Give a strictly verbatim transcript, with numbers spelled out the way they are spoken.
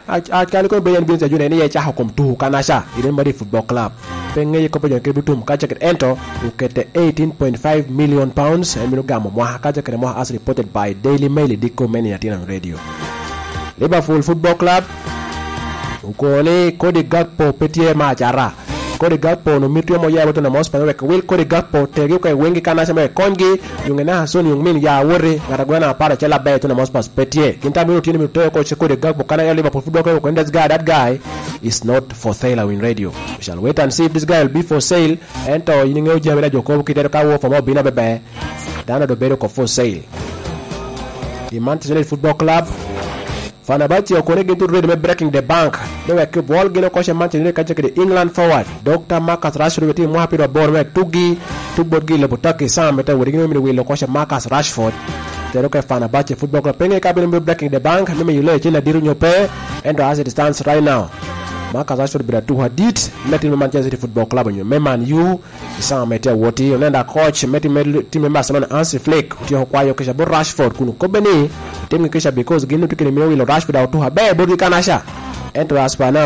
Acalo kono bedo en bino cajune ni ecako kom tuku kanaca i Real Madrid Football Club. Pe ŋeye kop a jo kede otum kacakit ento okete eighteen point five million pounds en bino gamo mwaka kacakit mwaka as reported by Daily Mail i dikko me Niatino Radio. Liverpool Football Club okono ni Cody Gakpo pe tye me acata. Cody Gakpo onwoŋo mito omo ya bot Tottenham Hotspur me wek wil Cody Gakpo tergi oko i winggi kanaca me wek konygi, onyo ŋe naka Son Heung-min ya woti, ŋat a gweno apar acel aber Tottenham Hotspur pe tye. Gin tam bino tye ni mito tero oko Cody Gakpo kanaca Liverpool Football Club, that guy is not for sale, Awiny Radio. We shall wait and see if this guy will be for sale. Ento yin iŋeo jami na jo kobo kite ka wo for more bino bebe. Dano do bedo oko for sale. I Manchester United Football Club, Fenerbahce okone gin tye ready me breaking the bank me wek kibwol gin oko ce Manchester United kacel kede England forward Doctor Marcus Rashford, wek tye mwaka pyeraboro me tukgi, tuk botgi i lobo Turkey, sama me te wot gin omito wilo oko ce Marcus Rashford tero ke Fenerbahce Football Club. Pe ŋe ka bino me breaking the bank me miyo loyo cen ladito nyo pe, ento as it stands right now, Marcus Rashford obedo atuko adit me tim me Manchester City Football Club onyo me Man U. I sawa me tye awot i onenda, koc me tim me Barcelona, Hansi Flick, otyeko kwayo kica bot Rashford kun okobbe ni otimgi kica because gin otye kede mito wilo Rashford a otuko aber botgi kanaca. Ento Rashford na